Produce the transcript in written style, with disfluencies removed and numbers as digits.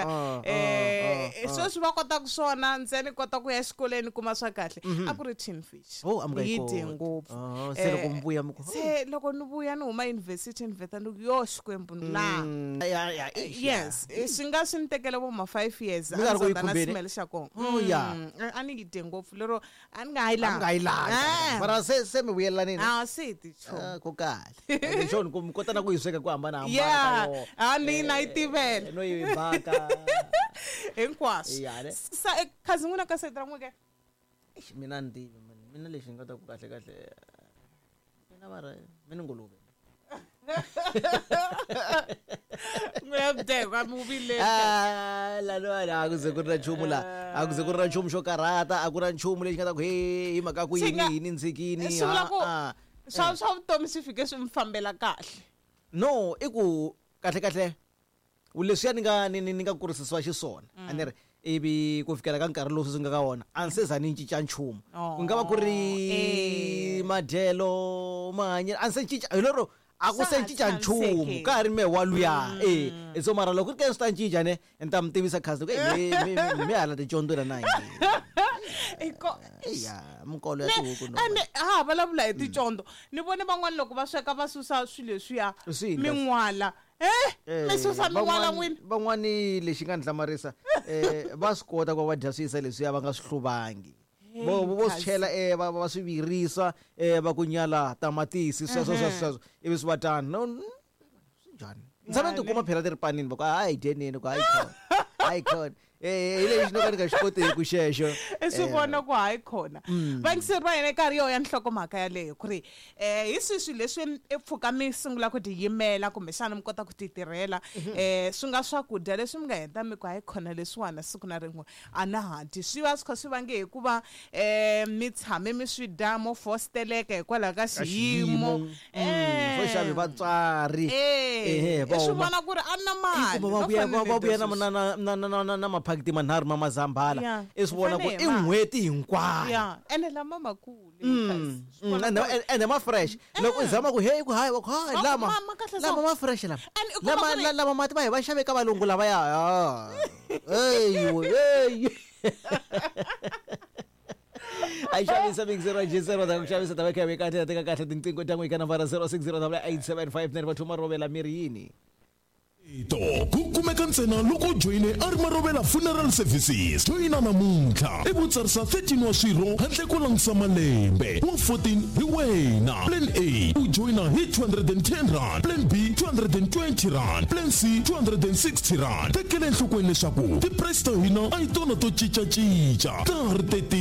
hina. Sweswi va kotaka swona ntsena kota ku ya exikolweni kuma swa kahle, a ku ri tin fish. Oh, a mi nga yi Yi dye koti. ngopfu. Oh, se loko mi vuya mi ku, Se loko ni vuya ni huma yunivhesiti, ni vheta ni ku, yo Xikwembu, la. Ya, ya, eish, ya. Yes, swi nga swi ni tekele vo ma 5 years. Mi nga ri ku yi A ni na khumbeni? smell xa kona. Oh, ya. A ni yi dye ngopfu lero a ni nga ha yi A mi nga yi lavi. Ah. Mara se mi vuyelanini? A se ti chomi. Ah, ku kahle. Xona ku mi kota na ku yi sweka ku hambanahambana ka yona. A ni na yi tivela. No yi baka. Hinkwaswo. Ya, ne? Sa khazi n'wina ka sayiti ra n'wina ke? Eish, mina ni tivi man. Mina lexi ni nga ta ku kahle kahle, mina va ri mina nguluve. N'wina mudekwa mi vile. Ah, laniwani a ku ze ku ri na nchumu la, a ku ze ku ri na nchumu xo karhata, a ku na nchumu lexi nga ta ku he hi mhaka ku Swi yini nga- yini ntshikini. Swi vula ku Ah, ah. swa vutomi swi fike swi mi fambela kahle. No, i ku kahle kahle leswiya ni nga ni nga kurisisiwa xiswona, a ni ri ivi ku fikela ka nkarhi lowu sweswi nga ka wona, a ni se za ni cinca nchumu. Ku nga va ku ri madyelo, mahanyelo, a ni se cinca hi lero, a ku Swa se ha cinca nchumu. tshamisekile. Ka ha ri mehe wa luya e. So mara loko ku ri ke swi ta cinca, ne ni ta mi tivisa khasi ku mi hala ticondzweni na hina. Ya minkolo ya tihuku no. Ene ha vulavula hi ticondzo, ni vone van'wana loko va sweka va susa swilo leswiya. Swi yini kasi? Min'wala mi susa min'wala n'wina? Van'wani lexi nga ni hlamarisa, va swi kota ku va va dya swiyisa leswiya va nga swi hluvangi, vo swi chela, va swi virisa, va ku nyala tamatisi, sweswo sweswo sweswo, ivi swi va tano. No, swi njhani? Ni tshame ni tikuma phela ti ri panini, va ku hayi dyenini, ku hayi khona, hayi khona, hi lexi no ka ni nga xi koteki xexo. I swi vona ku hayi khona. Vayingiseri va hina, karhi yo ya nhlokomhaka yaleyo ku ri hi swihi swilo leswi i pfuka mi sungula ku tiyimela, kumbexana mi kota ku ti tirhela, swi nga swakudya leswi mi nga heta mi ku hayi khona leswiwana siku na rin'we a na ha dyi, swi va swi kha swi vange hikuva mi tshame mi swi dya mo fosteleka hikwalaho ka xiyimo. Fo xavi vatswari. Ehe, va I swi huma. vona ku ri a na mali. Kuma va No vuya fanele va vuya dya na sweswi. na maphakiti manharhu ma mazambhala. I swi vona ku Fanele i hi ma. n'hweti hinkwayo. Ya, ene lama makulu. Ende ma fresh, loko u zama ku hey, ku hayi, va ku hayi. Lama ma kahle. Lama ma fresh lama. And u kuma Lama ku ri- lama mati va hi va xave ka valungu lavaya. Hey hey, a yi xavisa mixero gisero ta ku xavisa ta va kha yi kahle, teka kahle tinqingho ta n'wi ka nambara 06088759, va thuma rovela miri yini. To ku kumeka ntsena loko u joyine a ri Marovela Funeral Services. Joyina namuntlha i vutsarisa 13 wa swirho handle ko langutisa malembe, wa 14 hi wena. Plan A, u joyina hi R210, plan B R220, plan C R260. Tekela enhlokweni leswaku ti-price ta hina a hi tona to cincacinca, ta ha ri 13.